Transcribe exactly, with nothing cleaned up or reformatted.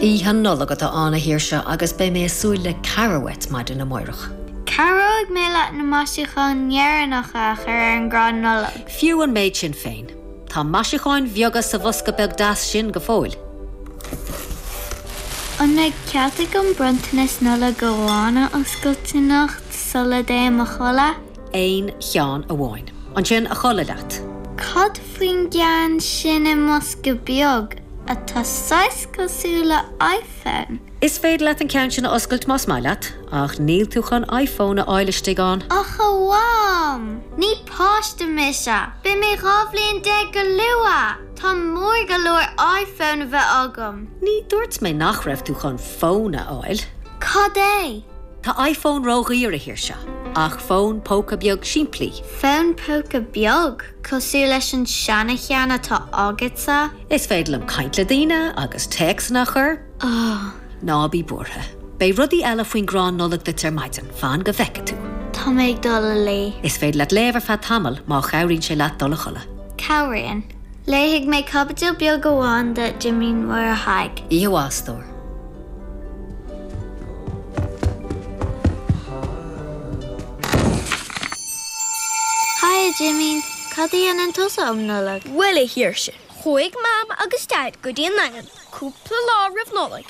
Oíche Nollag atá ann a Shaoirse agus beidh mé ag súil le cabhair uait maidin amárach. Cabhróidh mé leat na maisiúcháin dheireanacha a chur ar an gcrann Nollag. Fiú an méid sin féin. Tá maisiúcháin bheaga sa bhosca beag deas sin go fóill. An mbeidh cead agam bronntanas Nollag amháin a oscailt anocht sula dtéim a chodladh? Aon cheann amháin. Ansin a chodladh leat. Cad faoin gceann sin i mbosca beag atá saghas cosúil le iPhone? Is féidir leat an ceann sin a oscailt más maith leat, ach níl tú chun iPhone a fháil istigh ann. Ach a Mham! Ní páiste mise, Beidh mé dhá bhliain déag go luath! Tá mór go leor iPhone a bheith agam. Ní dúirt mé nach raibh tú chun fón a fháil. Cad é? Tá iPhone ródhaor a Shaoirse, ach fón póca beag simplí. Fón póca beag cosúil leis an seancheann atá agatsa? Is féidir liom caint le daoine agus téacsanna a chur. Oh. Ná bí buartha. Beidh rudaí eile faoin gcrann Nollag duit ar maidin, fan go bhfeicfidh tú. Tá mé ag dul a luí. Is féidir leat léamh ar feadh tamall má chabhraíonn sé leat dul a chodladh. Cabhraíonn. Léifidh mé caibidil beag amháin de Jimín Mhuire Thaidhg. Oíche mhaith a stór. Haigh a Jimín, cad a dhéanann tusa um Nollaig? Bhuel a Shaoirse, chuaigh Mam agus Daid go dtí an Daingean cúpla lá roimh Nollaig.